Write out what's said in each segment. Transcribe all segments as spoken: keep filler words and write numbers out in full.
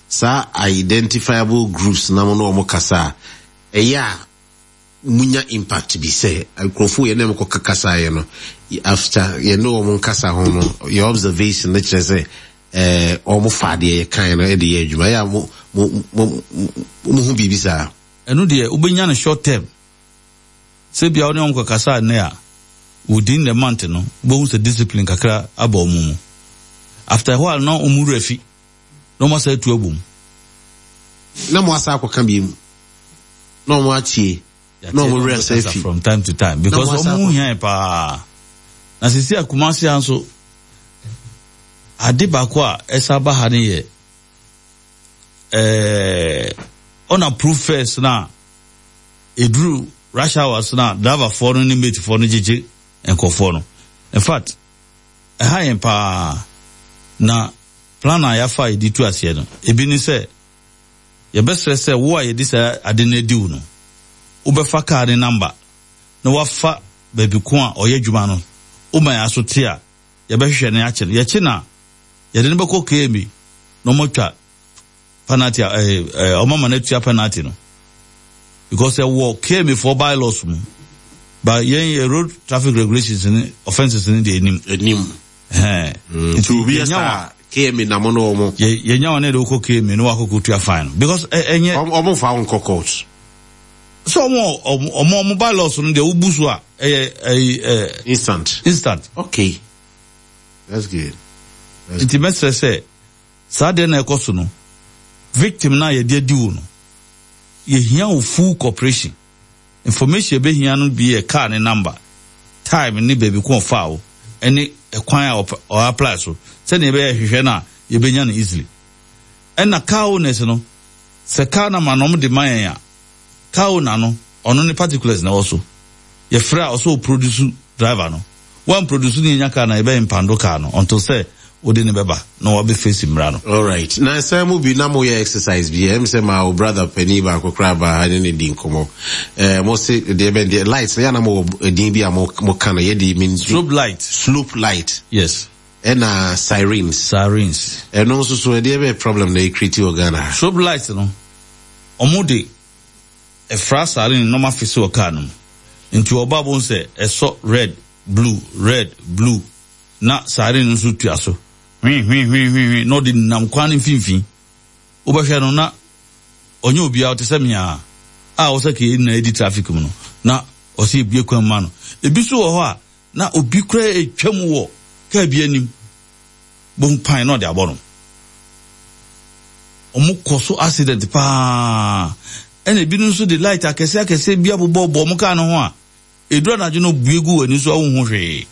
Saa identifiable groups na mo ne wɔn kasa a, ɛyɛ a munya impact bi sɛ nkurɔfoɔ yɛn ne wɔn kɔ kasa yɛ no, after yɛn ne wɔn nkasa ho no, yɛ observation no kyerɛ sɛ ɛɛ wɔn fa adeɛ yɛ kan no de yɛ adwuma. Ɛyɛ a mo mo mo mo ho biribi saa? Ɛno deɛ, wobɛnya no short term. Sɛ bia wo ne wɔn kɔ kasa nnɛ a, within the month no, wobɛhu sɛ discipline kakra aba wɔn mu. After a while na wɔn wura fi na wɔn asa atu abom. Na mo asa akɔka bi mu na wɔn atie na wɔn wura asa afi. From time to time, because wɔn ho hia paa. Na sisi a Kumasi ha nso, ade baako a ɛsa ba ha no yɛ ɛɛ unapproved fares na eduru rush hours na driverfoɔ no ne matefoɔ no gyegye nkɔfoɔ no. In fact, ɛha yɛn paa. Na plan a yɛafa a yɛde tu aseɛ no, ebi ne sɛ yɛbɛsrɛ sɛ wo a yɛde saa ade no adi wo no, wobɛfa kaa ne number na wafa baabi ko a ɔyɛ adwuma no. Woma yɛn aso te a, yɛbɛhwehwɛ no akye no. Yɛkye no a, yɛde no bɛkɔ K M A na ɔmatwa penalty a ɛɛ ɛɛ ɔmama no atua penalty no, because ɛwɔ K M A foɔ bylaws mu, but yɛn yɛ road traffic regulations ne offences ne deɛ anim. Anim. Ɛhɛn. Nti obi yɛ saa K M A na mo ne wɔn. yɛ yɛnya wɔn ne de wokɔ K M A na wakɔkɔ tua fine no, because ɛ ɛnyɛ. Ɔmo fa wɔn kɔ court? Sɛ ɔmo ɔmo ɔmo ɔmo bylaws no deɛ, wobu so a, ɛyɛ ɛyɛ ɛ. Instant. Instant. Okay, that's good. That's Nti mɛsrɛ sɛ saa deɛ na ɛkɔ so no, victim na yɛde adi wo no, yɛhia wo full cooperation. Information yɛbɛhia no bi yɛ car ne number, time ne baabi ko ɔfa wo, ɛne ɛkwan a ɔpɛ- ɔ apply so, sɛnea yɛbɛyɛ hwehwɛ no a, yɛbɛnya no easily. Ɛna car owners no, sɛ car number na ɔmo de ma yɛn a, car owner no, ɔno ne particulars na ɛwɔ so. Yɛfrɛ a, ɔsɛ ɔproduce driver no. Wɔn produce ne yɛnya car na yɛbɛyɛ impound car no until sɛ wode ne bɛba na wabɛ face mmara no. Alright, na sɛ mo bi na mo yɛ exercise bi, ɛm sɛ ma o brother panyin baako koraa ba ha ne ne di nkɔmɔ. ɛɛ mo se deɛ bɛn deɛ light na yɛ na mo wɔ din bi a mo mo ka no, yɛ de mi. Strobe light. Slope light. Yes. Ɛna sirens. Sirens. Ɛno nso so, ɛdeɛ bɛ problem na ɛcreate wɔ Ghana ha? Strobe light no, ɔmo de ɛfra siren na ɔmo afisi wɔ car no mu. Nti ɔba bo sɛ ɛsɔ red, blue, red, blue, na siren no nso tua so hwii hwii hwii hwii hwii na ɔde nam kwan no mfimfini. Wobɛhwɛ no na ɔnyɛ obiara, ɔte sɛ mmea a ɔsɛ kee na edi traffic mu no, na ɔsɛ ebue kwan ma no. Ebi nso wɔ hɔ a, na obi kura etwa mu wɔ kaa bi anim bohu pan na ɔde abɔ no. Ɔmo kɔ so accident paa. Ɛna ebinom nso de light akɛse akɛse bi abobɔ bɔ ɔmo kaa no ho a, eduru anadwo no, bue gu w'ani so a, wohu hwee.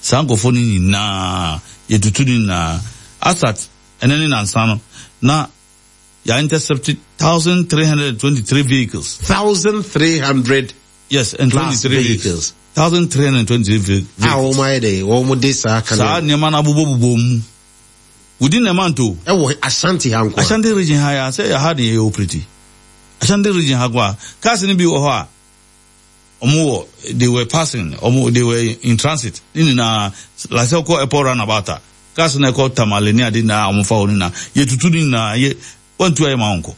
Saa nkurɔfoɔ no nyinaa, yɛtutu no nyinaa. Asat ɛne ne nansa no na yɛ intercept thousand three hundred and twenty-three vehicles. Thousand three hundred. Yes, and plus twenty-three vehicles. Thousand three hundred and twenty-three vehicles. A wɔn ayɛ dɛ wɔn de saa kan. Saa nneɛma no abobɔbobɔ mu within a month o. Ɛwɔ Ashanti ha nko? Ashanti Region ha ya sɛ ha de yɛ operate Ashanti Region ha ko a, cars no bi wɔ hɔ a ɔmo wɔ, they were passing, ɔmo they were in transit ne nyinaa, like sɛ ɔkɔ airport roundabout a, cars no ɛkɔ Tamale ne ade nyinaa, ɔmo fa hɔ no nyinaa, yɛtutu ne nyinaa. Yɛ wɔntu ayɛ ma wɔnkɔ.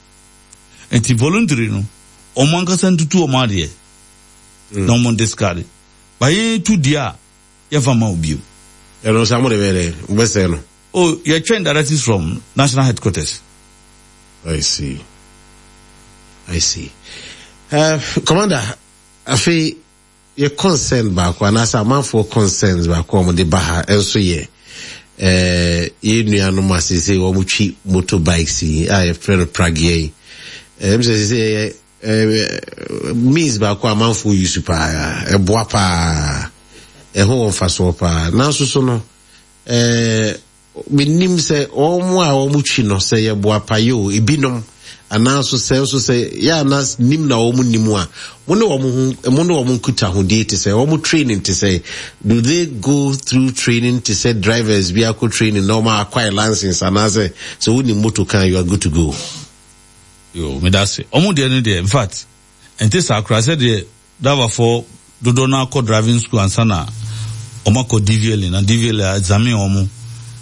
Nti voluntary no, ɔmo ankasa ntutu ɔmo adeɛ na ɔmo discard ba. Yɛn tu deɛ a, yɛmfa ma obio. Ɛno sɛ mo de bɛyɛ dɛ wobɛsɛe no? Oh, yɛtwɛn directives from national headquarters. I see, I see. uh, commander afei yɛ concern baako anaasɛ amanfoɔ concerns baako a wɔde ba ha nso yɛ eh, yɛn nuanom a sese wɔn twi motorbikes yi a yɛfrɛ no pragea yi. Ɛm sɛ sese yɛ eh, means baako a amanfoɔ use paa, ɛboa paa, ɛho wɔ mfasoɔ paa. Nanso so no, eh, menim sɛ wɔn a wɔn twi no sɛ yɛboa payɛ o, ebinom anaaso sɛ nso sɛ yɛ ana nim na wɔn nim a, mo ne wɔn ho, mo ne wɔn nkitahodie te sɛ wɔn training te sɛ, do they go through training te sɛ drivers bi akɔ training na wɔn acquire license, anaasɛ sɛ wɔn motor kan, you are good to go? Yo, meda ase. Ɔmo deɛ no deɛ, in fact, ɛnte saa koraa. Sɛ deɛ driverfoɔ dodoɔ no akɔ driving school ansa na ɔmo akɔ D V L A, na D V L A examine ɔmo,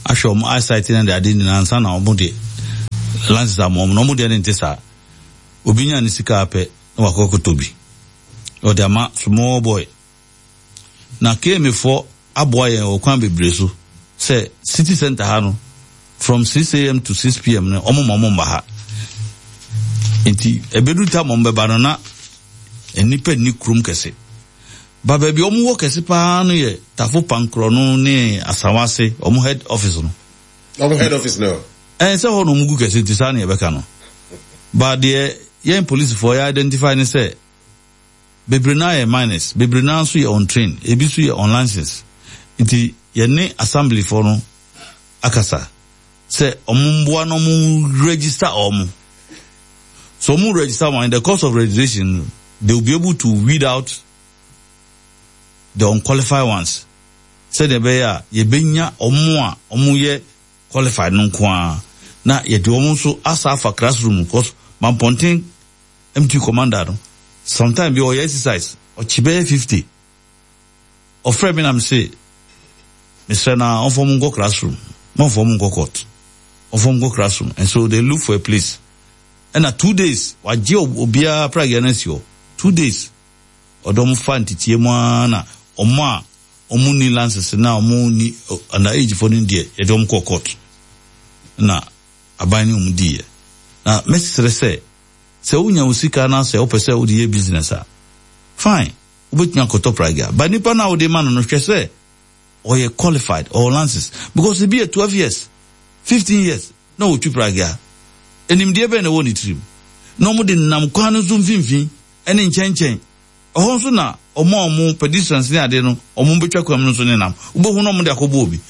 ahwɛ ɔmo eyesight ne de ade nyinaa ansa na ɔmo de License ama ɔmo na ɔmo deɛ ne nte saa. Obi nya ne sika apɛ na wakɔ kɔtɔ bi, ɔde ama small boy. Na K M A foɔ aboa yɛn wɔ kwan bebree so sɛ city center ha no, from six a m to six p m no, ɔmo ma ɔmo mba ha. Nti ebedu tam ɔmo bɛba no na nnipa nni kurom kɛse ba. Baabi ɔmo wɔ kɛse paa no yɛ Tafo Pankorɔ no ne Asawase, ɔmo head office no. Ɔmo head office no. Ɛn sɛ hɔ na ɔmo gu kɛse, nti saa na yɛbɛka no ba. Deɛ yɛn polisifoɔ yɛ identify ne sɛ bebree naa yɛ minors, bebree naa nso yɛ untrained, ebi nso yɛ unlicensed. Nti yɛne assemblyfoɔ no akasa sɛ ɔmo mboa na ɔmo register ɔmo. So ɔmo register wɔn, in the course of registration they will be able to weed out the unqualified ones, sɛdeɛ ɛbɛyɛ a yɛbɛnya ɔmo a ɔmo yɛ qualified no nko ara, na yɛde ɔmo nso asa afa classroom, because Mampɔnten M T commander no, sometime bi ɔyɛ exercise, ɔkye bɛyɛ fifty. Ɔfrɛ mi na mi se mesrɛ na ɔmfɔ mu nkɔ classroom, mɔmfɔ mu nkɔ court, ɔmfɔ mu nkɔ classroom. And so they look for a place, ɛna two days wagye obiara pragya no asi hɔ. Two days ɔde ɔmo fa ntetie mu ara, na ɔmo a ɔmo ni license na ɔmo ni under age fo no deɛ, yɛde ɔmo kɔ court na aban ne ɔmo diiɛ. Na mɛsrɛ sɛ sɛ wonya wo sika na sɛ wopɛ sɛ wode yɛ business a, fine, wobɛtumi akɔtɔ pragya, but nipa no a wode ma no no, hwɛ sɛ ɔyɛ qualified or license, because ebi yɛ twelve years, fifteen years na ɔtwi pragya. Enimdeɛ bɛn na ɛwɔ ne tirim na ɔmo de nam kwan no so mfimfini ɛne nkyɛnkyɛn ɛhɔ nso, na ɔmo a ɔmo pedestrians ne ade no, ɔmo bɛtwa kwan mu no nso ne nam, wobɛhu na ɔmo de akɔbɔ obi.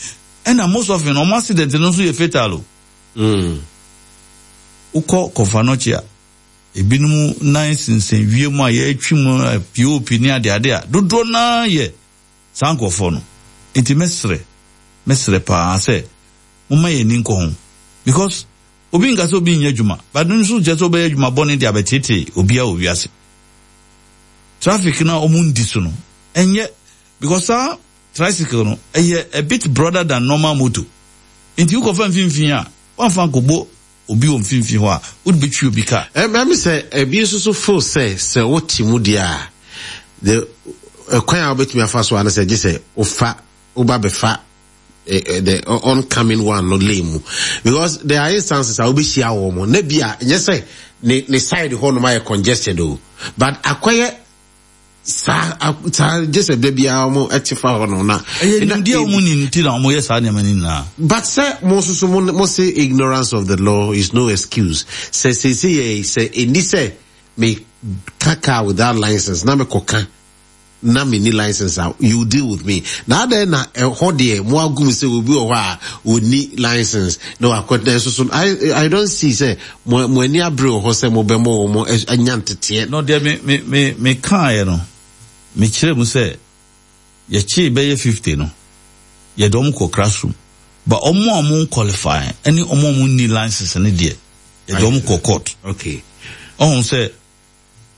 Ɛna most often ɔmo accident no nso yɛ fatal o. Mm. Wokɔ Kɔmfo Anɔkye a, ebinom nan sensɛn wiem a yɛretwi mu a pop ne adeade a dodoɔ naa yɛ saa nkurɔfoɔ no. Nti mɛsrɛ mɛsrɛ paa sɛ momma yɛn ani nkɔ ho, because obi nka sɛ obi nyɛ adwuma, but no nso kyerɛ sɛ wobɛyɛ adwuma bɔne de abɛtete obiara wɔ wiase. Traffic na ɔmo ndi so no ɛnyɛ, because saa tricycle no ɛyɛ a bit broader than normal motor, nti wokɔfa mfimfini a, wamfa nkɔbɔ obi wɔ mfimfini hɔ a, wode bɛtwi obi car. Ɛmi sɛ ebi nso so feel sɛ sɛ wote mu deɛ a, the ɛkwan a wobɛtumi afa so ano sɛ gye sɛ wofa woba bɛfa eh, eh, the oncoming one no lane mu, because there are instances a wobɛhyia wɔ mo na bi a nyɛ sɛ ne ne side hɔ nom ayɛ congested o, but akɔyɛ saa saa gye sɛ da biara wɔn ɛte fa hɔ nom na. Ɛyɛ nimdeɛ a wɔn ni nti na wɔn yɛ saa nneɛma no nyinaa. But sɛ mo nso so mo mo say ignorance of the law is no excuse. Sɛ sese yɛ sɛ eni sɛ me ka car without license na me kɔ ka na me ni license a, you deal with me. Na adan na ɛhɔ deɛ mo agum sɛ obi wɔ hɔ a oni license na wakɔ na ɛso so, i i don't see sɛ mo mo ani abere wɔ hɔ sɛ mo bɛ mo wɔn anya nteteɛ. No deɛ, me me me me kaeɛ no, me kyerɛ mu sɛ yɛkyee bɛyɛ fifty no, yɛde wɔn kɔ classroom, but wɔn a wɔn qualify ɛne wɔn a wɔn ni license no deɛ, yɛde wɔn kɔ court. Okay. Ɔhun sɛ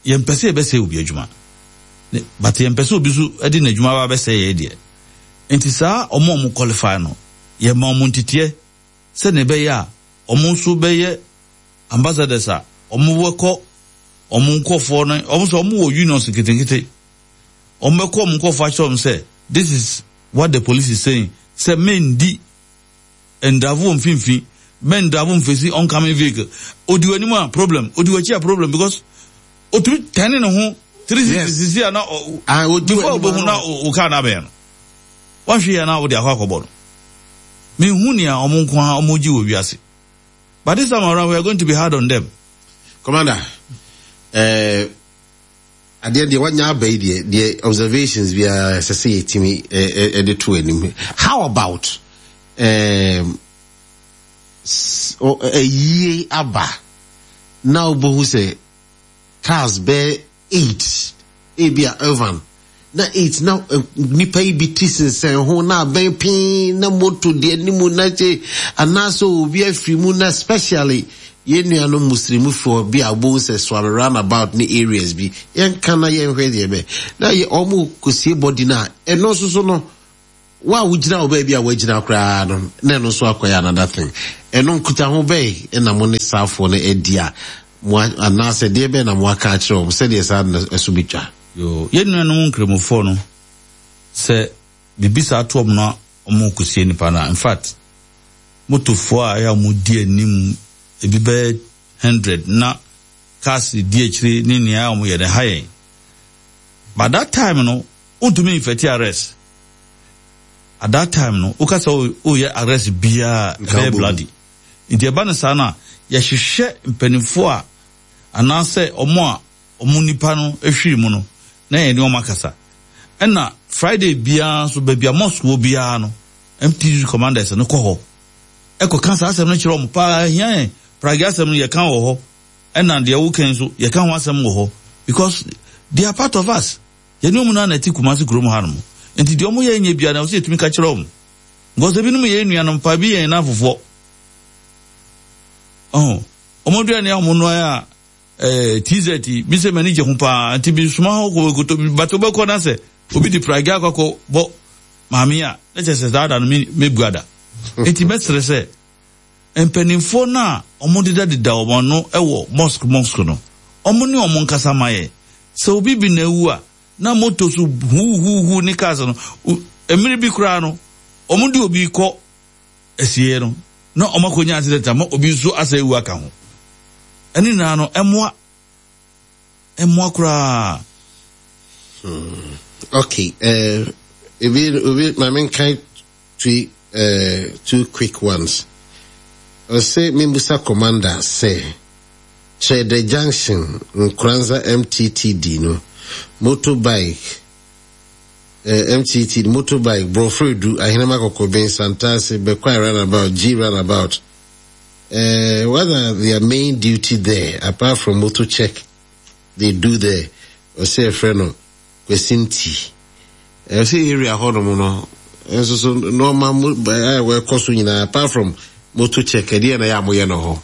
yɛmpɛ sɛ yɛbɛsɛe obi adwuma, but yɛmpɛ sɛ obi nso de n'adwuma ba bɛsɛe yɛ deɛ. Nti saa wɔn a wɔn qualify no, yɛma wɔn nteteɛ sɛnea ɛbɛyɛ a wɔn nso bɛyɛ ambassadors a wɔn bɛkɔ wɔn nkɔfoɔ no. Wɔn nso wɔn wɔ unions nketenkete, wɔn bɛkɔ wɔn nkɔfoɔ akyerɛ wɔn sɛ this is what the police is saying, sɛ mendi ndravo wɔ mfimfini, mɛndravo mfesi oncoming vehicle. Odi w'anim a, problem. Odi w'akyi a, problem, because otumi tɛne ne ho three sixty sisi a na before obohu na o car na abɛn no, wahwɛ yɛ na wode akɔ akɔbɔ no. Mehu nea ɔmo nko ara ɔmo gye wɔ wiase, but this time around we are going to be hard on them. Commander, ɛɛ uh, adeɛ deɛ wanya aba yi deɛ deɛ observations biara ɛsɛ sɛ yɛtumi ɛde to anim. How about um, ɛyie aba na wobɛhu sɛ cars bɛɛ eight, ebi a urban na eight, na nipa yi bi ti sensɛn ho na abɛn pii na moto deɛ anim na kye, anaasɛ obi afiri mu, na especially yɛn nuanom Muslimfoɔ bi a wobɛhu sɛ Suame roundabout ne areas bi, yɛnka na yɛnhwɛ deɛ bɛ na yɛ ɔmo kɔsie bɔdi no a, ɛno nso so no. Wo a wogyina wo baabi a woagyina koraa no, na ɛno nso akɔyɛ another thing. Ɛno nkutaho bɛn na mo ne saafoɔ no adi a mo anaasɛ deɛ bɛn na mo aka akyerɛ wɔn sɛdeɛ saa no ɛso bɛtwa? Yo, yɛn nuanom nkramofoɔ no, sɛ biribi saa to wɔn na wɔn kɔsie nipa no a, in fact, motofoɔ a ɛyɛ a wɔn di anim ebi bɛyɛ hundred na cars di akyire ne nea wɔn yɛ no ha yɛn. But that time no, wontumi effect arrest. At that time no, woka sɛ woyɛ arrest biara, ɛbɛyɛ bloody. Nti ɛba no saa no a, yɛhwehwɛ mpanimfoɔ a anaasɛ ɔmo a ɔmo nipa no ahwiri mu no na yɛne ɔmo akasa. Ɛna Friday biara nso, baabi a mosque wɔ biara no, M T T D commanders no kɔ hɔ ɛkɔka saa asɛm no kyerɛ ɔmo paa. Hia yɛn pragya asɛm no, yɛka wɔ hɔ, ɛna deɛ woka nso yɛka ho asɛm wɔ hɔ, because they are part of us. Yɛne ɔmo naa na ɛte Kumasi kurom ha nom, nti deɛ ɔmo yɛ nyɛ biara na ɔsɛ yɛtumi ka kyerɛ ɔmo, because ebinom yɛ nuanom pa bi, yɛn nan fofoɔ ɔho ɔmo aduane a ɔmo noa a ɛɛ T Z bi sɛ m'ani gye ho paa, nti bi soma hɔ kɔ koto bate wobɛkɔ na sɛ obi de pragya akɔ akɔ bɔ maame a, na kyerɛ sɛ saa da no me mebu ada. Nti mɛsrɛ sɛ mpanimfoɔ no a ɔmo dedadeda wɔn ano wɔ mosque mosque no, ɔmo ne ɔmo nkasa ma yɛ sɛ obi bi na ewu a, na moto so huhuhu ne cars no, mmiri bi koraa no, ɔmo de obi kɔ asie no na ɔmo akɔnya accident ama obi nso asa ewu aka ho. Ɛne nyinaa no, ɛmoa ɛmoa koraa. Hmm. Okay, uh, ebi obi maame nkan two uh, two quick ones. Ɔsɛ mimbusa commander sɛ Kyerɛdɛ Junction Nkoranza M T T D no motorbike, uh, M T T D motorbike, Borɔfo Ahenema Kɔkɔben, Santase, Bekwai roundabout, G roundabout. Uh, what are their main duty there apart from motor check they do there? Ɔsɛ ɛfrɛ no Kwesinti. Ɛsɛ area hɔnom no nso so nneɛma mu a wɔkɔ so nyinaa, apart from motor check, ɛdeɛ na yɛ a moyɛ no hɔ?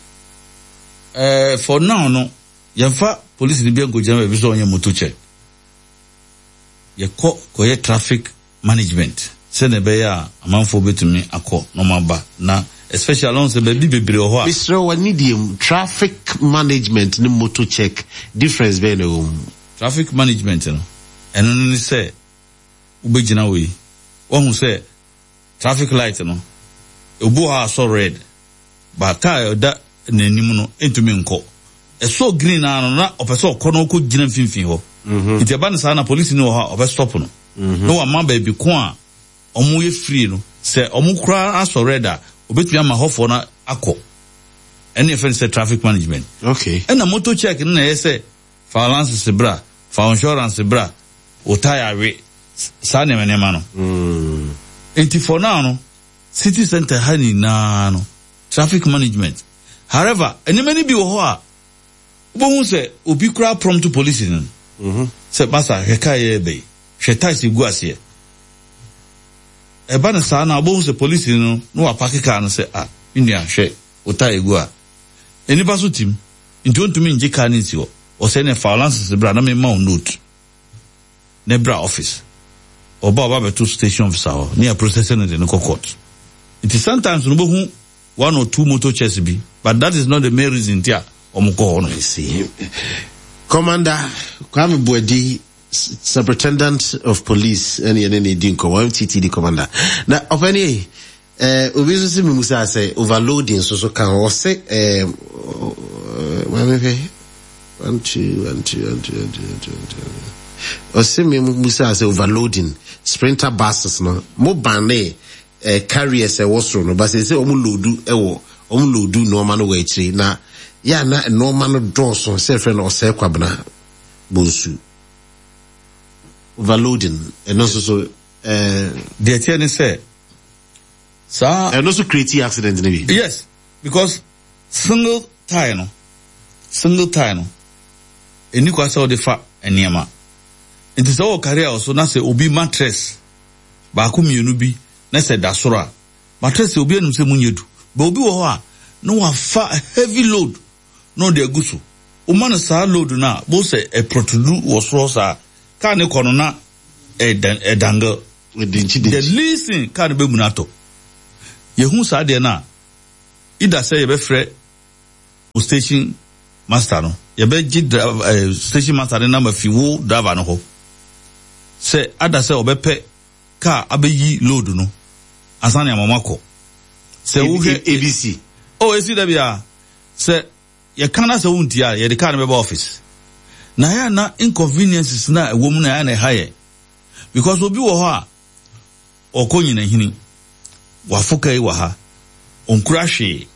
Uh, for now no, yɛmfa police ni bi nkɔgyina baabi sɛ ɔnyɛ motor check. Yɛkɔ kɔyɛ traffic management sɛnea ɛbɛyɛ a amanfoɔ bɛtumi akɔ na ɔmo aba, na especially ɔn sɛ baabi bebree wɔ hɔ a. Mesrɛ wɔ ne deɛ mu, traffic management ne motor check, difference bɛyɛ na ɛwɔ mu? Traffic management no, ɛno no ne sɛ wobɛgyina wɔ yi, wahu sɛ traffic light no, obi wɔ hɔ a asɔ red ba, car a ɛda n'anim no ntumi nkɔ. Ɛsɔ green naa no na ɔpɛ sɛ ɔkɔ na ɔkɔ gyina mfimfini hɔ. Nti ɛba no saa na polisi no wɔ hɔ a ɔbɛ stop no na wama baabi ko a ɔmo yɛ free no, sɛ ɔmo koraa asɔ red a, obetumi ama hɔfoɔ no akɔ. Ɛne yɛfrɛ no sɛ traffic management. Okay. Ɛna motor check no na ɛyɛ sɛ fa license bra, fa insurance bra, wo tyre we, saa nneɛma nneɛma no. Mm. Nti for now no, city center ha nyinaa no, traffic management. However, nneɛma no bi wɔ hɔ a wobɛhu sɛ obi koraa prompt police no Mm-hmm. sɛ, "Masa, hwɛ kaa yɛ bɛyi, hwɛ tyres egu aseɛ." Ɛba no saa na wobɛhu sɛ police no na wapark kaa no sɛ, "Ah, me nua, hwɛ wo tyre egu a nnipa so tim," nti ontumi ngye kaa no nsi hɔ. Ɔsɛ ne fa license bra na mema wo note na bra office. Ɔba, ɔba bɛto station officer hɔ ne yɛ process no de no kɔ court. Nti sometimes no, wobɛhu one or two motor checks bi, but that is not the main reason nti a ɔmo kɔ hɔ no. I see. Commander Kwame Buadi, Superintendent of Police, ɛne yɛne ne di nkɔmmɔ, M T T D commander. Na ɔpɛni, eh, obi nso sɛ mimusa sɛ overloading nso so ka ho. Ɔsɛ eh, maame hwɛ, one two one two one two one two one two one two. Ɔsɛ mimusa sɛ overloading sprinter buses no, mo ban ne eh, carriers ɛwɔ soro no, but sɛ sɛ ɔmo load ɛwɔ, ɔmo load nneɛma no wɔ akyire na yɛ na nneɛma no dɔɔso, sɛ ɛfrɛ no Ɔsɛe Kwabena Bonsu. Overloading ɛno nso so ɛɛ. Deɛ tiɛ ne sɛ saa. Ɛno nso create accident ne bi? Yes, because single tyre no single tyre no ɛni kwa sɛ ɔde fa nneɛma. Nti sɛ ɔwɔ carrier wɔ so na sɛ obi mattress baako mmienu bi na sɛ da soro a, mattress obi anim sɛ mu nyɛ du bɛ, obi wɔ hɔ a na wafa heavy load na ɔde agu so. Woma no saa load no a, bo sɛ ɛprɔtudu wɔ soro saa kaa ne kɔ no na ɛdangle. The least thing car no bɛmu no atɔ. Yɛhu saa deɛ no a, either sɛ yɛbɛfrɛ wo station master no, yɛbɛgye driver, eh, station master no nama fi wo driver no hɔ sɛ ada sɛ ɔbɛpɛ car abɛyi load no ansa ne ama akɔ. Sɛ wohwɛ A B C. Oh, esi da bia sɛ yɛka na sɛ wontie a, yɛde car no bɛba office. Na ɛyɛ na inconveniences na ɛwɔ mu na ɛyɛ na ɛha yɛ, because obi wɔ hɔ a ɔkɔ nyinahini wafo ka yi wɔ ha, ɔnkura hwee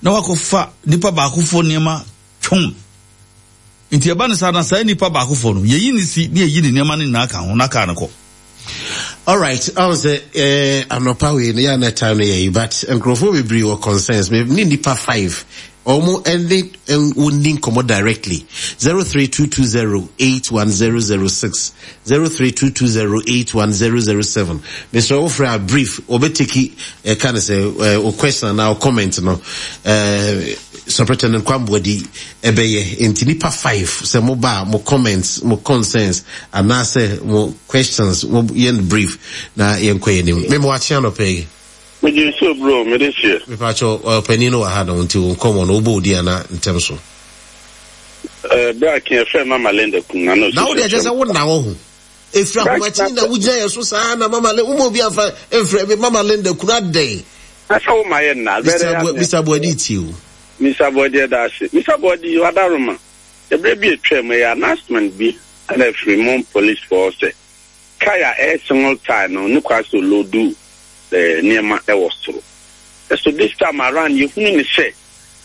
na wakɔfa nipa baakofo nneɛma twɔn. Nti ɛba ne saa na saa nipa baakofo no, yɛyi ne si ne yɛyi ne nneɛma no nyinaa ka ho na kaa no kɔ. Alright, ɔn sɛ eh, anɔpa wei no yɛ na time no yɛ yi, but nkurɔfoɔ bebree wɔ concerns. Me ne nipa five ɔmo ɛne wɔnni nkɔmɔ directly. zero three two two zero eight one zero zero six, zero three two two zero eight one zero zero seven. Mesrɛ wofrɛ a, brief. Wɔbɛteki ɛka ne sɛ ɛ o question anaa o comment no, ɛɛ Superintendent Kwamboadi ɛbɛyɛ. Nti nipa five, sɛ mo ba a, mo comments, mo concerns anaasɛ mo questions, mo yɛn brief na yɛn kɔ yɛn anim. Mɛmo akye anɔpɛ yi. Megye nsuo bro, mede hyɛ. Mepakyɛ ɔpanin no wɔ ha no, nti wo nkɔmmɔ no, wobɔ odi ana ntɛm so. Berɛ a ke yɛfrɛ Mama Linda kum na na na wode ɛkyɛ sɛ wo na wɔ ho ɛfiri ahomakyi na wogyina yɛ so saa na Mama Linda woma obi amfa mfrɛ me Mama Linda kunu adɛn? Na sɛ woma yɛ nna. Mister Boadi tie o. Mister Boadi, ɛda ase. Mister Boadi, wadaroma ɛberɛ bi atwa mu, ɛyɛ announcement bi ɛna afiri mo police foɔ sɛ kaa a ɛyɛ single tyre no ne kwa sɛ ɔload nneɛma ɛwɔ soro. Ɛso this time around yɛhunu ne sɛ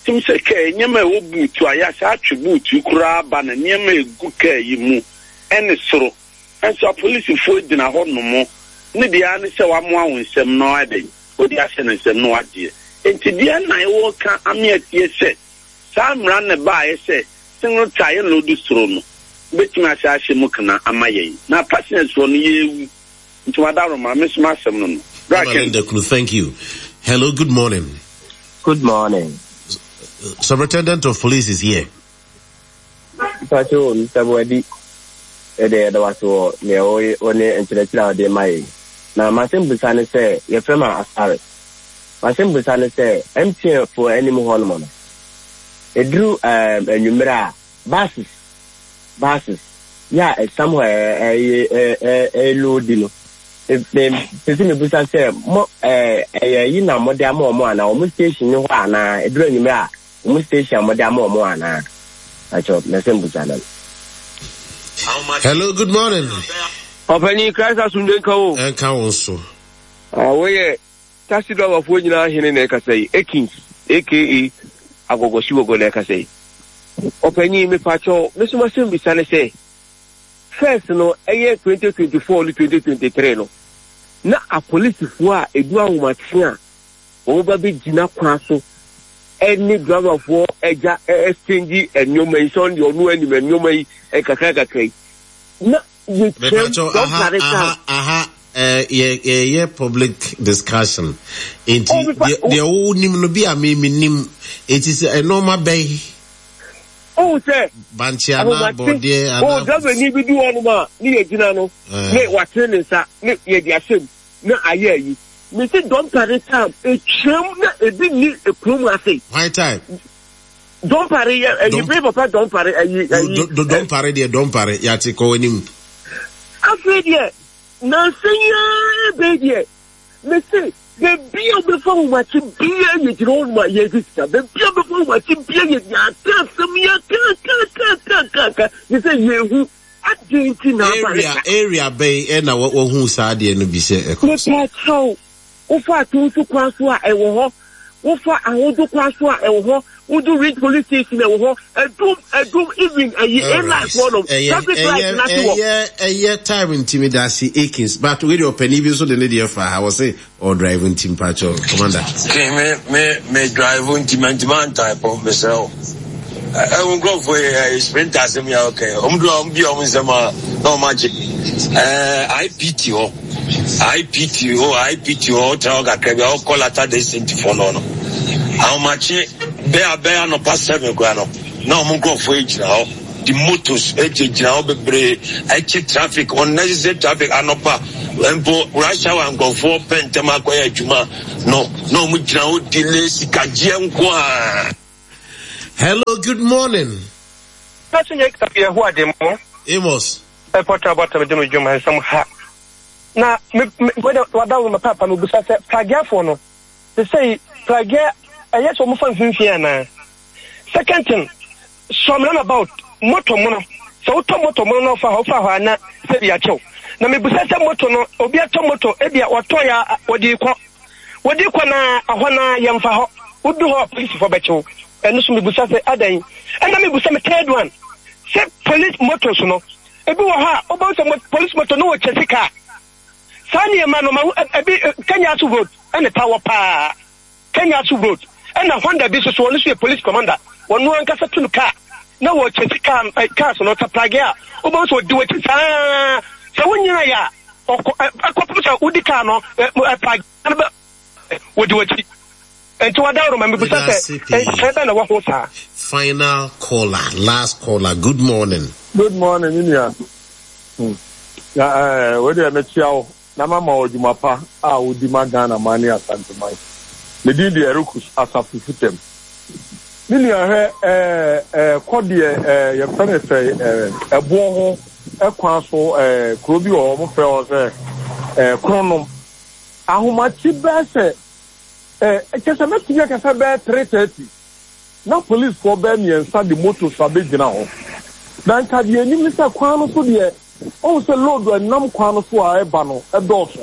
tim sɛ kaa nneɛma a ɛwɔ boot a yɛahyɛ atwe boot koraa ba na nneɛma egu kaa yi mu ɛne soro. Nso apolisifoɔ gyina hɔ nom ne deɛ ne sɛ wamoa wo nsɛm no adɛn wode ahyɛ ne nsɛm no wadeɛ. Nti deɛ na ɛwɔ ka ame atie sɛ saa mmara ne baayɛ sɛ single tyre yɛ load soro no bɛtumi ahyɛ ahyɛ mu kana ama yɛn na passengers foɔ no yɛɛwu. Nti wadaroma me so m'asɛm no no Mama Linda Kunu, thank you. Hello, good morning. Good morning. Superintendent of Police is here. Mpacho, Mister Boadi, ɛde yɛda wase wɔ nea wɔne nkyerɛkyerɛ a wɔde ma yɛn. Na masɛm busa ne sɛ, yɛfrɛ ma Asare. Masɛm busa ne sɛ, M T N foɔ anim hɔ nom no, ɛduru anwummerɛ a, buses buses yɛ a ɛsam hɔ ɛyɛ ɛload no, pɛ sɛ mebusa sɛ mo ɛyɛ yi na mode ama ɔmo anaa ɔmo station ne hɔ anaa ɛduru anwummerɛ a ɔmo station a mode ama ɔmo anaa? Akyɛw, mɛsɛ mbusa no. Hello, good morning. Ɔpanyin, Christ asomdwe nka wo. Ɛnka wo nso. Woyɛ taxi driverfoɔ nyinaa hene na ɛkasa yi, Akins A K A Agɔgɔsiwɔgɔ na ɛkasa yi. Ɔpanyin, mepakyɛw, mesom asɛm bisa ne sɛ, first no ɛyɛ twenty twenty-four ne twenty twenty-three no, na apolisifoɔ a edu ahomakye a wɔn ba bɛgyina kwan so ɛne driverfoɔ ɛgya exchange nneɛma yi sɛ ɔno deɛ ɔno anim nneɛma yi kakra kakra yi na yɛtwam. Aha, aha, aha, yɛ yɛ public discussion nti deɛ wonim no bi a me menim nti sɛ ɛnɔɔma bɛyi. Ohun sɛ bankye anaa bɔdeɛ anaa o driver ni bi di hɔnom a ne yɛ gyina no ne watene ne nsa ne yɛde ahyɛ mu na ayɛ ayi mesi dɔmpare time etwam na ebi ni ekurom ase. White time. Dɔmpare yɛ ɛyi bere papa dɔmpare ɛyi ɛyi. Dɔmpare deɛ, dɔmpare yate, kɔ anim. Afei deɛ nansa yi ara bɛyi deɛ, mesi beebi a wobɛfa ahomakye bia yɛ gyina hɔ nom a yɛgye sika. Beebi a wobɛfa ahomakye bia yɛ yɛaka asɛm yɛka ka ka ka ka yɛ sɛ yɛhu adi nti na aba. Area area bɛyi ɛna wɔhu saa adeɛ no bi sɛ ɛkɔ so? Mepa kyɛw, wofa atonso kwan so a, ɛwɔ hɔ. Wofa ahodo kwan so a, ɛwɔ hɔ. Wodu Ridge Police Station, ɛwɔ hɔ. Ɛdum ɛdum even ɛyi A-line foɔ nom, traffic light n'ase wɔ. ɛyɛ ɛyɛ time ntumi da ase, Akins, but wei deɛ ɔpanin bi nso de ne deɛ fa ha, wɔ se ɔdrive nti mpakyɛw, Commander. Okay, me me me drive nti me ntoma ntype, mesrɛ wo. Ɛwo nkurɔfoɔ yɛ ɛyɛ sprinter asɛm yɛ ɔkɛ. Ɔmo duro a ɔmo bi a ɔmo nsɛm a na ɔmo agye. Ɛɛ I P T hɔ, I P T hɔ, I P T hɔ, ɔtena hɔ kakra bi a ɔkɔ Latter Day Saint fɔ no no. Ahomakye bɛyɛ bɛyɛ anɔpa seven koraa no na ɔmo nkurɔfoɔ yi gyina hɔ. The motos gyinagyina hɔ bebree ɛkye traffic, unnecessary traffic anɔpa. Mpo rush hour nkurɔfoɔ pɛ ntɛm akɔyɛ adwuma no na wɔn gyina hɔ delay sikagyeɛ nko ara. Hello, good morning. Amos. Na me me wada wo papa me busa sɛ pragiafoɔ no te sɛ pragia ɛyɛ sɛ wɔn fa mfimfini anaa. Second thing, some runabout moto mono sɛ wotɔ moto mono na ɔfa hɔ ɔfa hɔ ana sɛ bi akyɛw. Na me busa sɛ moto no obi atɔ moto ebi a wɔtɔ ya wɔde kɔ wɔde kɔ na ɛhɔ na yɛmfa hɔ wodu hɔ polisifoɔ bɛkyew. Ɛno so me busa sɛ adan. Ɛna me busa me third one sɛ police motos no ebi wɔ hɔ a wobɛhu sɛ police moto no wɔ kyɛsi kaa saa nneɛma no ma ebi Kenya so road ɛna ta wɔ paa Kenya so road ɛna Honda bi so so ɔno so yɛ police commander wɔn ankasa tu no kaa na wɔ kyɛsi kaa kaa so no taprage a wobɛhu sɛ ɔdi wɔkyi saa sɛ wonyina yɛ a ɔkɔ ɛkɔpem sɛ wodi kaa no ɛprage no bɛ wɔdi wɔkyi nti wɔda woroma mebusa sɛ nhyɛ bɛ na wɔ ho saa. Final caller, last caller. Good morning. Good morning, Minia. Na eh, we dey mekyia wo na mama wo adwuma pa a wodi ma Ghana man ne Asante man. Me din de Erukus Asafo Futam. Me nua hwɛ eh eh kɔ deɛ eh yɛfrɛ no sɛ eh ɛboɔ ho ɛkwan so eh kuro bi wɔ hɔ wɔfrɛ hɔ sɛ eh Kronom. Ahomakye bɛɛ sɛ eh kyɛ sɛ mɛtumi aka sɛ bɛɛ three thirty na policefoɔ bɛɛ mmiɛnsa de moto so abɛgyina hɔ. Na nka deɛ anim ne sɛ kwan no so deɛ ɔhu sɛ load a ɛnam kwan no so a ɛba no ɛdɔɔso.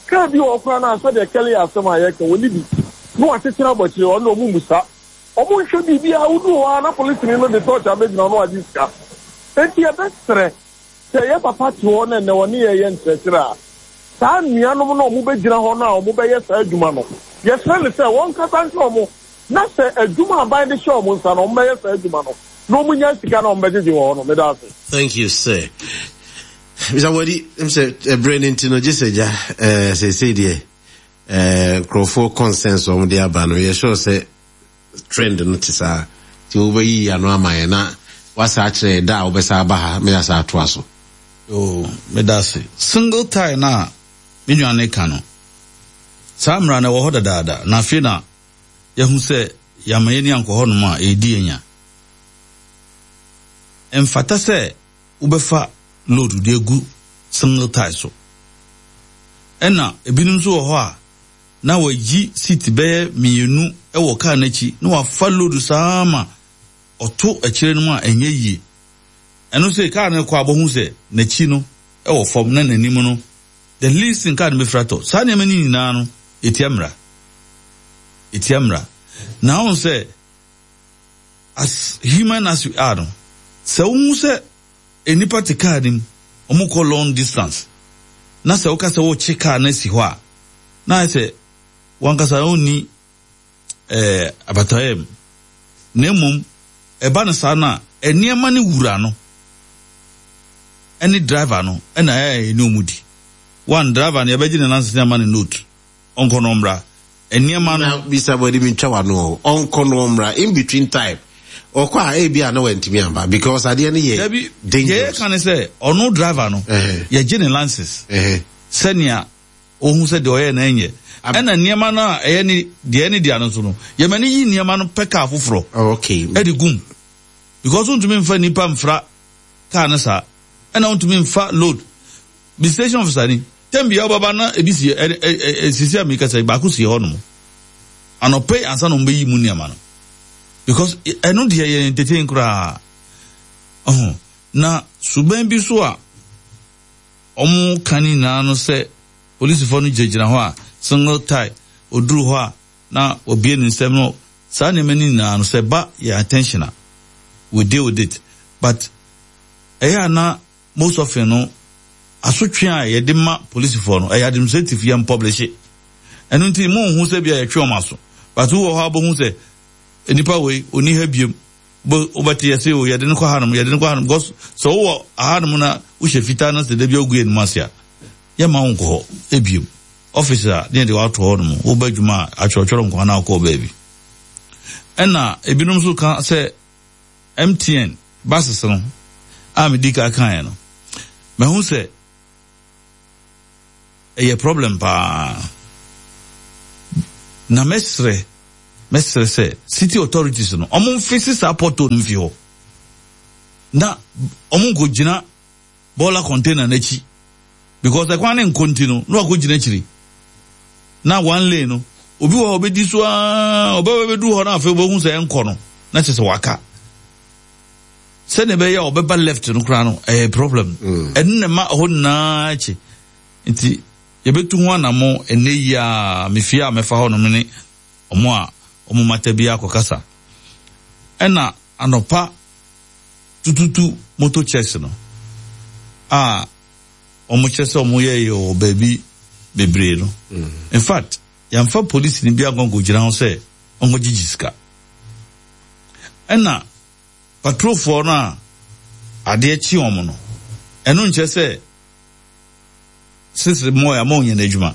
Kaa bi wɔ hɔ koraa no a sɛdeɛ Kelly asɛm a yɛka wɔni bi na wakyekyere abɔkyere ɔno ɔmo mmusa. Ɔmo nhwɛ biribiara woduru hɔ a na polisini no de torch abɛgyina hɔ na wagye sika. Enti yɛbɛsrɛ sɛ yɛ papa te hɔ na ɛnɛ ɔne yɛyɛ nkyerɛkyerɛ a saa nnuanom no a ɔmo bɛgyina hɔ no a ɔmo bɛyɛ saa adwuma no yɛsrɛ no sɛ wɔnkasa nkyerɛ ɔmo na sɛ adwuma aban de hyɛ ɔmo nsa no ɔmo bɛyɛ saa adwuma no na ɔmo nya sika na ɔmo bɛgyegye wɔ hɔ no. Meda ase. Thank you, sir. Mister Wadi, sɛ ɛbrɛ no nti no gye sɛ gya ɛɛ seesei deɛ ɛɛ nkurɔfoɔ consensus ɔmo de aba no yɛ sure sɛ trend no te saa nti wobɛyi ano ama yɛn na wasa akyerɛ yɛ da a wobɛsa aba ha meyɛ asa atoa so. Oh, meda ase. Single tie na me nua ne ka no saa mmara no ɛwɔ hɔ dadaada na afei na yɛhu sɛ yɛama yɛni ankɔ hɔnom a ɛredi anya. Ɛmfata sɛ wobɛfa load de agu single tie so. Ɛna ebinom nso wɔ hɔ a na wɔayi seat bɛyɛ mmienu wɔ kaa n'akyi na wafa load saa ma ɔto akyire no mu a ɛnyɛ yie. Ɛno sɛ kaa no kɔ abɔhu sɛ n'akyi no ɛwɔ fam na n'anim no the least thing kaa no bɛfira tɔ. Saa nneɛma no nyinaa no ɛtia mmara. Ɛtia mmara. Na wɔn sɛ as human as we are no sɛ wohu sɛ nnipa te kaa no mu ɔmo kɔ long distance na sɛ woka sɛ wokye kaa no asi hɔ a na ayɛ sɛ wankasa wonni ɛɛ abataeɛ mu. Na mmom ɛba no saa no a nneɛma no wura no ɛne driver no ɛna ɛyɛ ɛne ɔmo di. One driver no yɛbɛgye ne license ama ne note ɔnkɔ no ɔmmra. Nneɛma no na bisa bɔde mi ntwa wano ɔnkɔ no ɔmmra in between time ɔkɔ a ebi a na wantumi amba because adeɛ no yɛ dabi dangerous. Yɛyɛ ka ne sɛ ɔno driver no yɛgye ne license sɛnea ohun sɛ deɛ ɔyɛ na ɛnyɛ ɛna nneɛma no a ɛyɛ ne deɛ ɛne deɛ no nso no yɛma ne yi nneɛma no pɛ kaa foforɔ ɛde gum because wontumi nfa nipa nfra kaa no saa ɛna wontumi nfa load bi station officer ni tɛm bia ɔbɛba na ebi si ɛ ɛ sisi a mi kasa baako si hɔ nom anɔpɛ ansa na wɔn bɛyi mu nneɛma no because ɛno deɛ yɛ entertain koraa ɔho na suban bi so a wɔn ka ne nyinaa no sɛ polisifoɔ no gyinagyina hɔ a single tie oduru hɔ a na obie ne nsɛm no saa nneɛma no nyinaa no sɛ ba yɛ attention a we deal with it but ɛyɛ a na most often no asotwe a yɛde ma polisifoɔ no ɛyɛ administrative yɛn publish ɛno nti mo nhu sɛ bi a yɛtwe wɔn aso but wowɔ hɔ abɔhu sɛ nipa wei oni ha biem wobɛte yɛ sɛ o yɛde no kɔ hanom yɛde no kɔ hanom because sɛ wowɔ ahanom na wohyɛ fitaa na sɛ da bi ogu yɛ anim ase a yɛma wo nkɔ hɔ ebiem office a ne yɛde wato hɔ nom wobɛ adwuma a atwerɛtwerɛ nkwa na wokɔɔ baabi. Ɛna ebinom nso ka sɛ M T N buses no a medi ka kaeɛ no mahu sɛ Ɛyɛ problem paa. Na mɛsrɛ, mɛsrɛ sɛ city authorities no, ɔmo mfisi saa pothole no mfi hɔ. Na ɔmo nkɔgyina bɔɔla container n'akyi. Because ɛkwan ne nkɔ nti no, na wakɔgyina akyiri. Na one lane no, obi wɔ hɔ ɔbɛdi so aa, ɔbɛba bɛduru hɔ na afei ɔbɛhu sɛ ɛnkɔ no, na kyerɛ sɛ waka. Sɛnea ɛbɛyɛ a ɔbɛba left no koraa no, ɛyɛ problem. Ɛno na ɛma ɛhɔ nyinaa akyi. Nti yɛbɛtu ho anammɔ ɛnnɛ yi a mefie a mɛfa hɔ nom ne ɔmo a ɔmo mata bi akɔkasa. Ɛna anɔpa tututu motor checks no a ɔmo kyerɛ sɛ ɔmo yɛ yɛ wɔ baabi bebree no. In fact, yɛmfa polisi ni bi akɔnkɔgyina ho sɛ ɔnkɔgyegye sika. Ɛna patrolfoɔ no a adeɛ kye wɔn no, ɛno nkyerɛ sɛ sisi mo a mo nyɛ n'adwuma.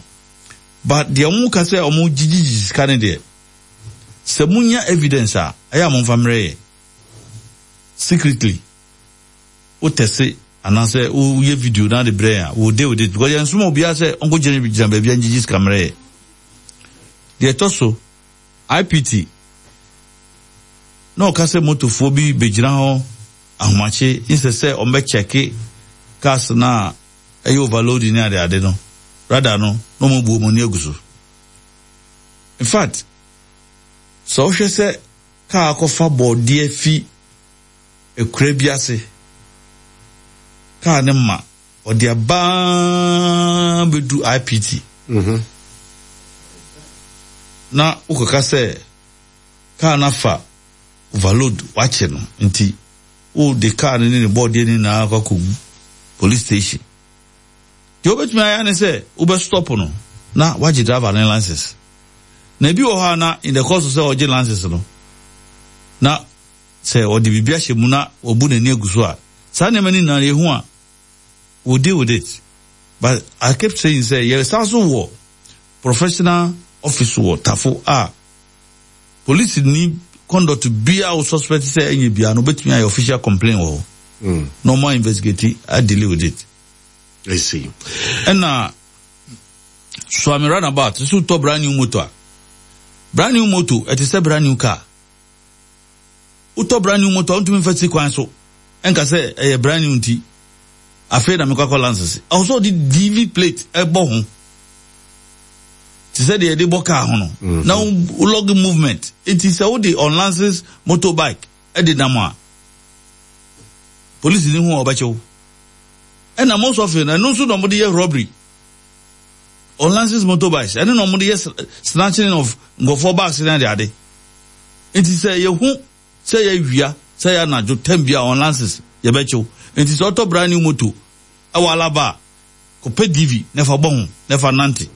But deɛ ɔmo ka sɛ ɔmo gyegyegye sika no deɛ, sɛ monya evidence a, ɛyɛ a momfa mmerɛ yɛ. Secretly, wotɛse anaasɛ woyɛ video na de brɛ yɛn a, we'll deal with it. Because yɛn nsoma obiara sɛ ɔnkɔgyina gyina baabi a ngyegye sika mmerɛ yɛ. Deɛ ɛtɔ so, I P T, na ɔka sɛ motofoɔ bi bɛgyina hɔ ahomakye nsɛ sɛ ɔmbɛkyɛke cars na ɛyɛ overloading ne ade ade no, radar no na ɔmo bu ɔmo ani agu so. In fact, sɛ wohwɛ sɛ kaa akɔfa bɔɔdeɛ fi ekura bi ase, kaa ne ma ɔde abaa bɛdu I P T na wokɔka sɛ kaa no afa overload, wakye no, nti wode kaa no ne ne bɔɔdeɛ no nyinaa akɔ akɔgu police station. Deɛ wobɛtumi ayɛ ne sɛ wobɛ stop no na wagye driver ne license. Na ebi wɔ hɔ a, na in the course of sɛ ɔgye license no, na sɛ ɔde biribi ahyɛ mu na wabu n'ani agu so a, saa nneɛma no nyinaa yɛhu a, we deal with it. But I kept saying sɛ yɛsan so wɔ professional office wɔ Tafo a police ni conduct bia wo suspect sɛ ɛnyɛ bia no, wobɛtumi ayɛ official complaint wɔ hɔ na ɔmo investigate a deal with it. I see. Ɛna Suame roundabout nso, tɔ brand new motor a, brand new motor ɛte sɛ brand new car. Wotɔ brand new motor, wontumi mfa si kwan so ɛnka sɛ ɛyɛ brand new nti afei na mekɔ akɔ license. Ɛwɔ sɛ ɔde D V plate ɛbɔ ho te sɛ deɛ yɛde bɔ car ho no na wo log movement. Nti sɛ wode unlicensed motorbike ɛde nam a, polisi ni ho a ɔbɛkye wo. Ɛna most often, ɛno nso na ɔmode yɛ robbery. Unlicensed motorbikes ɛno na ɔmode yɛ snatching of nkɔfoɔ bags ne ade ade. Nti sɛ yɛhu sɛ yɛawia sɛ yɛ anadwo tam bi a unlicensed, yɛbɛkye wo. Nti sɛ ɔtɔ brand new moto ɛwɔ Alaba a, kɔpɛ D V na ɛfa bɔ ho na ɛfa nante.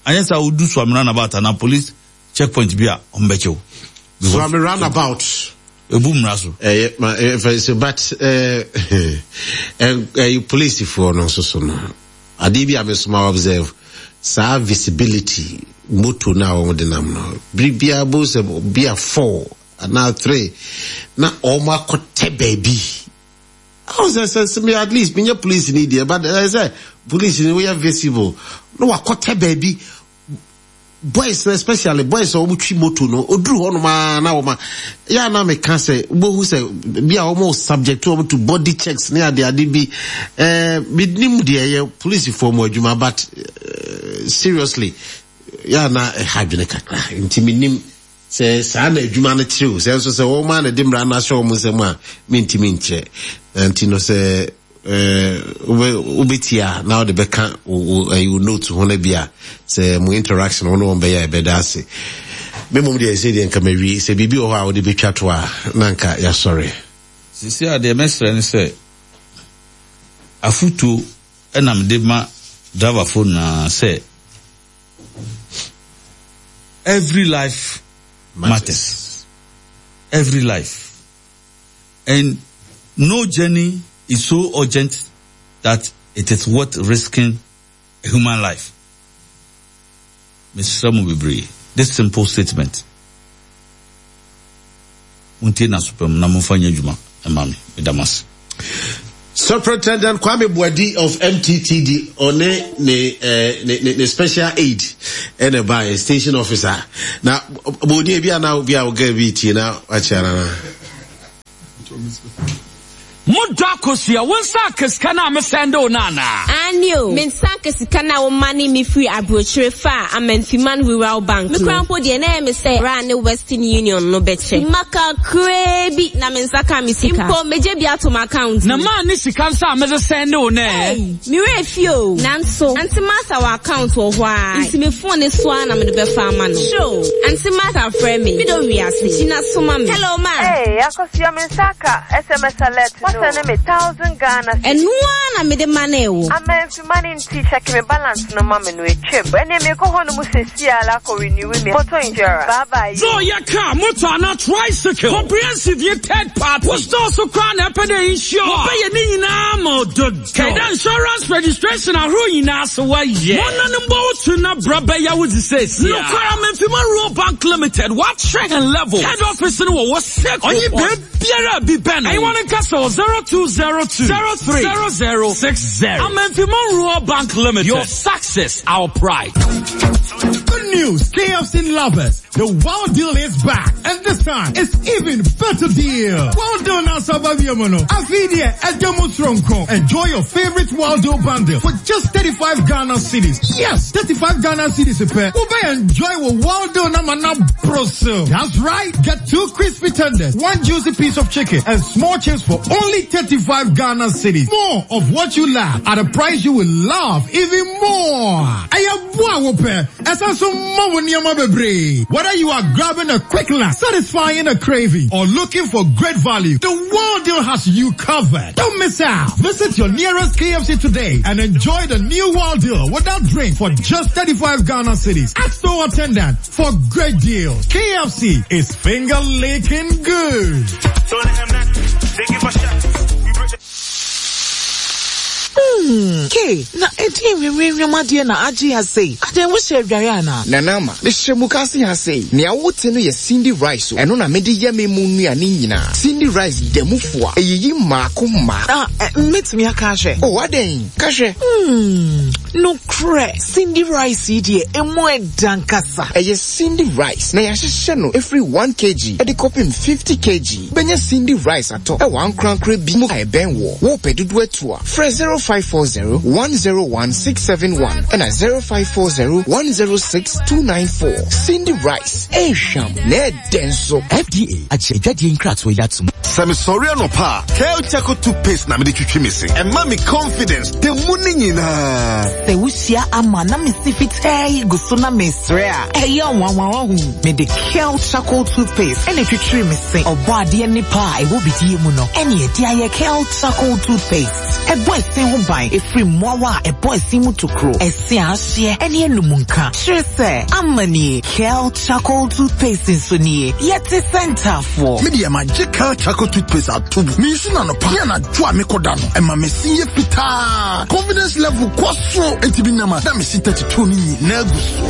Anyɛ sɛ wodu Suame roundabout anaa police checkpoint bi a, ɔmbɛkye wo. Suame roundabout. Ebu mmara so. Ɛyɛ ma ɛfɛ sɛ, but ɛɛ ɛɛ polisifoɔ no nso so no, adeɛ bi a mesoma observe, saa visibility moto no a wɔn de nam no, biribiara bo sɛ bi a four anaa three na wɔn akɔtɛ baabi awo sɛ sɛ sɛ me at least menyɛ police ni deɛ, but ɛyɛ sɛ police ni woyɛ visible na wakɔtɛ baabi. Boys no, especially boys a wɔn twi moto no, oduru hɔ nom aa na wɔn a yɛ a na meka sɛ wobɛhu sɛ bi a wɔn subject wɔn to body checks ne ade ade bi. ɛɛ bi nim deɛ ɛyɛ polisifoɔ mu adwuma, but uh, seriously, yɛ a na ɛha adwene kakra. Nti mi nim sɛ saa na adwuma no kyerɛ o, sɛ nso sɛ wɔn a na de mmara no ahyɛ wɔn nsam a, mentumi nkyerɛ. Nti no sɛ wobɛtie a, na wode bɛka wo note ho no bi a sɛ mo interaction wo ne wɔn bɛyɛ a, ɛbɛda ase. Me mmom deɛ, sɛ deɛ nka mawie, sɛ biribi wɔ hɔ a wode bɛtwa to a, na nka yɛasɔre. Sisi a deɛ mɛsrɛ ne sɛ afotuo ɛna mede ma driverfoɔ nyinaa sɛ every life matters. Every life, and no journey is so urgent that it is worth risking a human life. Mesrɛ mo bebree, this simple statement, montie n'asopam na momfa nyɛ adwuma ɛma me. Meda mo ase. Superintendent Kwame Boadi of M T T D ɔne ne eh, ne ne ne special aide ɛna ɛbaeɛ, station officer na bɔdi ebi a na obi a ɔga bi tie na wakyɛ nana. Modɔ Akosua, wo nsa aka sika no a mesɛnde wo no anaa? Aane o, me nsa aka sika no a womane me firi aburokyire faa Amenfiman Rural Bank no. Me koraa mpo deɛ, na ɛyɛ me sɛ Ra ne Western Union no bɛkyɛ. Mma kakraa bi na me nsa kaa me sika. Mpo, megye bi ato m'account Na mu. maa ne sika nso a mede sɛnde wo no ɛ? Ei, me werɛ fi o. Nanso, Auntie Martha wɔ account wɔ hɔ a, nti me phone ne so ara na mede bɛfa ama no. Sure, Auntie Martha frɛ me. Me dɔ wiase. Gyina so ma me. Hello, ma. Hey, Akosua, me nsa aka S M S alert no. Wasɛne me thousand Ghana cedis. Ɛno ara na mede ma ne wo. Amenfiman nti check me balance no ma me no etwam. Ɛne mekɔ hɔ no mu sesi ala akɔ renew me motor insurance. Bye bye. So yɛ car, motor anaa tricycle, comprehensive yɛ third party. Wo store so koraa na ɛpɛ dɛ insure. Wɔbɛyɛ ne nyinaa ma ɔdɔ. Kɛda insurance registration ahorow nyinaa so wɔyɛ. Wɔn nan mbɔ wo tu na bra bɛyɛ wo dze sɛsi. Nokwara Amenfiman Rural Bank Limited wɔakyerɛ hɛn level. Head office no wɔ wɔ Seko. Ɔnye beebiara bi bɛn no. Ɛyi wɔn nkasa wɔ zero two zero two zero three zero zero six zero. Amenfiman Rural Bank Limited. Your success, our pride. Good news, K F C lovers. The Wild Deal is back. And this time, it's even better deal. Wild Deal na saba biomono. Afidie edemo tronko. Enjoy your favorite Wild Deal bundle for just thirty-five Ghana cedis. Yes, thirty-five Ghana cedis a pair. Ube enjoy with Wild Deal na mana brosil. That's right. Get two crispy tenders, one juicy piece of chicken, and small chips for only thirty-five Ghana cedis. More of what you love at a price you will love even more. Ayaboa wope. Ɛsan ma wo nneɛma bebree. Whether you are grabbing a quick lunch, satisfying a craving, or looking for great value, the World Deal has you covered. Don't miss out. Visit your nearest K F C today and enjoy the new World Deal without drink for just thirty-five Ghana cedis. Ask store attendant for great deals. K F C is finger licking good. Hmm, Ke, na ɛdeɛn nwinwinwim adeɛ na agye ha sei? Adeɛ wohyɛ adware anaa? Nanama, mehyɛ mu kase ha sei. Nea wote no yɛ Cindy rice o. Ɛno na mede yɛ me mu nnuane nyinaa. Cindy rice da mu fo a, ɛyiyi mmaako mmaako. Na, mɛtumi aka ahwɛ? O, adɛn? Ka hwɛ. Hmm, nokorɛ, Cindy rice yi deɛ, emu ɛda nkasa. Ɛyɛ Cindy rice na yɛahyehyɛ no ɛfiri one kilogram ɛde kɔpem fifty kilograms. Bɛnya Cindy rice atɔ ɛwɔ ankorankora bi mu a ɛbɛn wɔ. Wopɛ dodoɔ atu a, frɛ zero five four zero one zero one six seven one ɛna zero five four zero one zero six two nine four. Cindy rice, ɛhwam na ɛdɛ nso. F D A agye adwadie nkratoɔ yi atom. Sɛ mesɔre anɔpa a, Kel Charcoal toothpaste na mede twitwi me se. Ɛma me confidence da mu ne nyinaa. Sɛ wohyia ama na mesi fitaa yi gu so na mesrɛ a, ɛyɛ nwanwa ɔhu. Mede Kel Charcoal toothpaste ɛna twitwiri me se. Ɔbɔ adeɛ nipa a ɛwɔ bidie mu no, ɛne ɛde ayɛ Kel Charcoal toothpaste. Ɛbɔ ɛse ho ban ɛfiri mmoawa a ɛbɔ ɛse mu tokuro, ɛse a ahyeɛ ɛne anum nka. Kyerɛ sɛ, ama nie, Kel Charcoal toothpaste nso nie. Yɛte sɛ ntaafoɔ. Me deɛ magye Kel Charcoal toothpaste ato mu. Mensu na anɔpa ne anadwo a mekɔda no, ɛma me se yɛ fitaa. Confidence level kɔ soro. Enti bi nam a na mesi thirty-two no nyinaa gu so.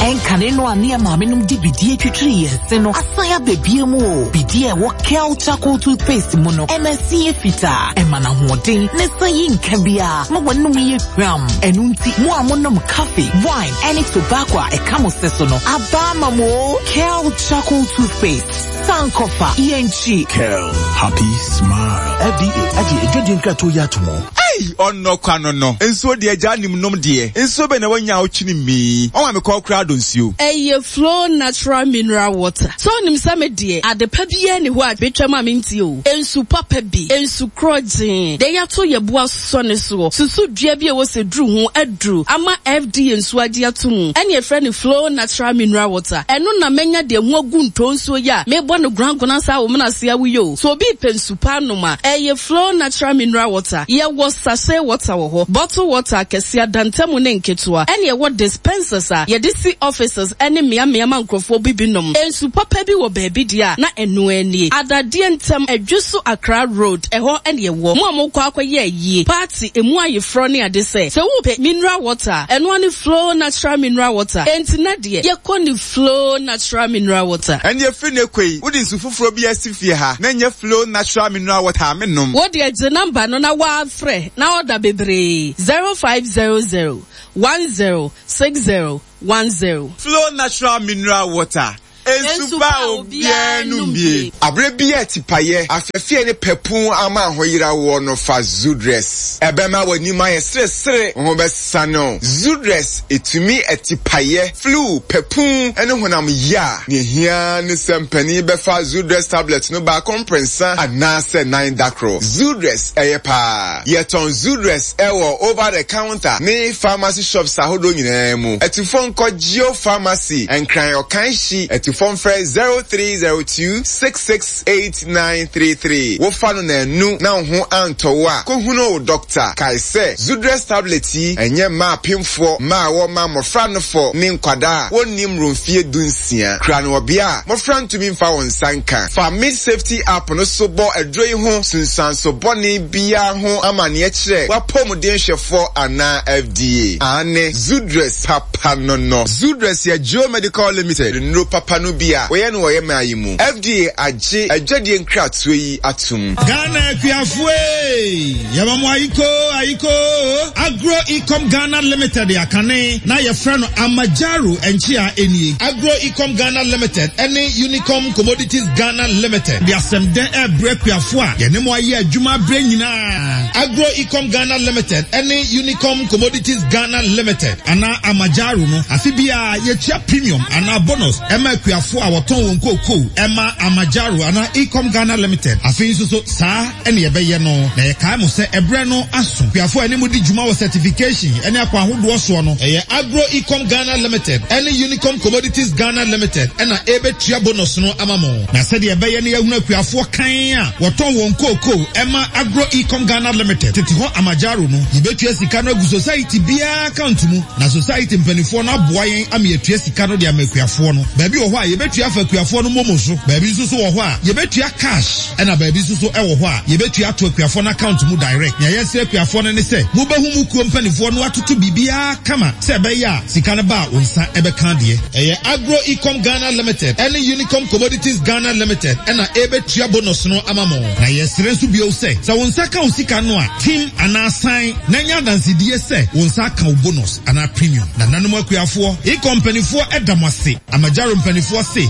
Ɛnkane no a ne yɛ maame de bidie twitwiri yɛn se no asan abɛbie mu o. Bidie a ɛwɔ Kel Charcoal toothpaste mu no ɛma ɛse yɛ fitaa, ɛma no ahoɔden ne sa yi nka biara ma w'anum yɛ hwam. Ɛno nti mo a monom coffee, wine ɛne tobacco a ɛka mo se so no aba ama mo o. Kel Charcoal toothpaste, sankɔfa yɛnkyi. Kel, happy smile. F D A agye adwadie nkratoɔ yi ato mu. Ei, ɔnnɔ kwa no no. Nsuo deɛ gya nim nom deɛ. Nsuo bɛ na wanya a wotwene mii. Ɔma me kɔɔ koraa do nsuo. Ɛyɛ Flow Natural Mineral Water. Sɛ onim sɛ me deɛ, ade pa biara ni hɔ a metwam a mentie o. Nsu papa bi, nsu korɔgyee, deɛ yɛato yɛ bo asɔ ne soɔ. Susu dua bi a ɛwɔ sɛ duru ho aduru ama F D A nsuo agye ato mu. Ɛne yɛfrɛ no Flow Natural Mineral Water. Ɛno na mɛnya deɛ ho agu ntɔ nsuo yi a mebɔ no gorangora saa wɔ menase awoyɛ o. So obi pɛ nsu pa anom a, ɛyɛ Flow Natural Mineral Water. Yɛwɔ sachet water wɔ hɔ, bottle water akɛseɛ, adantamu ne nketewa, ɛne ɛwɔ dispensers a yɛde si offices ne mmeammea ma nkurɔfoɔ bi binom. Nsu papa bi wɔ baabi deɛ a, na ɛno ara nie. Adadeɛ ntam, Adwoso Accra Road, ɛhɔ ne ɛwɔ. Mo a mokɔ akɔyɛ ayie, party, emu ayeforɔ ne ade sɛ, sɛ wopɛ mineral water a, ɛno ara ne Flow Natural Mineral Water. Enti na deɛ, yɛkɔ ne Flow Natural Mineral Water. Ɛnde ɛfiri nnɛ kɔ yi, wode nsu foforɔ bi asi fie ha na ɛnyɛ Flow Natural Mineral Water a, mennom. Wo deɛ gye number no na waa frɛ na order bebree, zero five zero zero, one zero six zero one zero. Flow Natural Mineral Water, nsu pa a obiara nom bie. Aberɛ bi a atipayɛ, afɛfeɛ ne pɛpun ama ahoyera woɔ no fa Zudress. Ɛbɛma w'anim ayɛ seresere, wo ho bɛsane wo. Zudress tumi atipayɛ, flu, pɛpun ne honam yea. Nea ehia ara ne sɛ mpanin bɛfa Zudress tablet no baako mprɛnsa anaasɛ nan da koro. Zudress yɛ paa. Yɛtɔn Zudress wɔ over the counter ne pharmacy shops ahodoɔ nyinaa mu. Atufo nkɔ Geo Pharmacy, Nkran Ɔkanhyi. Atufo mfrɛ zero three zero two six six eight nine three three. Wofa no nnanu na wo ho antɔ wo a, kɔhunu wo dɔkta. Kae sɛ, Zudress tablet yi nyɛ mma apemfoɔ, mma a wɔma mmɔfra nofɔ ne nkwadaa a wɔnni mmoro mfeɛ du nsia. Kura no wɔ bea a mmɔfra ntumi mfa wɔn nsa nka. Fa Meat Safety app no so bɔ aduro yi ho nsunsuanso bɔne biara ho amanneɛ kyerɛ w'apɔmuden hwɛfoɔ anaa F D A. Aane, Zudress papa no no. Zudress yɛ Geo Medical Limited nnuro papa no bi a wɔyɛ no wɔ yɛn man yi mu. F D A agye adwadie nkratoɔ yi atom. Ghana akuafoɔ ee, yɛma mo ayiko ayiko. Agro Ecom Ghana Limited akane na yɛfrɛ no Amajaro nkyea enie. Agro Ecom Ghana Limited ɛne Unicom Commodities Ghana Limited de asɛm dɛ ɛbrɛ akuafoɔ a yɛne mo ayɛ adwuma abrɛ nyinaa. Agro Ecom Ghana Limited ɛne Unicom Commodities Ghana Limited anaa Amajaro no afe biara yɛtua premium anaa bonus ɛma akuafoɔ a wɔtɔn wɔn kookoo ɛma Amajaro anaa Ecom Ghana Limited. Afei nso so saa ɛne yɛbɛyɛ no na yɛkae mo sɛ ɛbrɛ no aso. Akuafoɔ a ɛne mo di dwuma wɔ certification ɛne akwan ahodoɔ soɔ no ɛyɛ Agro Ecom Ghana Limited ɛne Unicom Commodities Ghana Limited ɛna ɛbɛtua bonus no ama mo. Na sɛdeɛ ɛbɛyɛ no yɛahunu akuafoɔ kan a wɔtɔn wɔn kookoo ɛma Agro Ecom Ghana Limited tete hɔ Amajaro no, yɛbɛtua sika no agu society biara account mu na society mpanimfoɔ no aboa yɛn ama yɛatua sika no de ama akuafoɔ no. Baabi wɔ hɔ a yɛbɛtua afa akuafoɔ no momo so, baabi nso so wɔ hɔ a yɛbɛtua cash, ɛna baabi nso so ɛwɔ hɔ a yɛbɛtua ato akuafoɔ no account mu direct. Nea yɛsrɛ akuafoɔ no ne sɛ mobɛhu mu kuo mpanimfoɔ no atoto biribiara kama sɛ ɛbɛyɛ a sika no ba a wo nsa ɛbɛka adeɛ. Ɛyɛ Agro Ecom Ghana Limited ɛne Unicom Commodities Ghana Limited ɛna ɛbɛtua bonus no ama mo. Na yɛsrɛ nso bio sɛ sɛ wo nsa ka wo sika no a, tim anaa san na nya adansedie sɛ wo nsa aka wo bonus anaa premium. Nananom akuafoɔ, Ecom mpanimfoɔ ɛda mo ase. Amajaro mpanimfoɔ se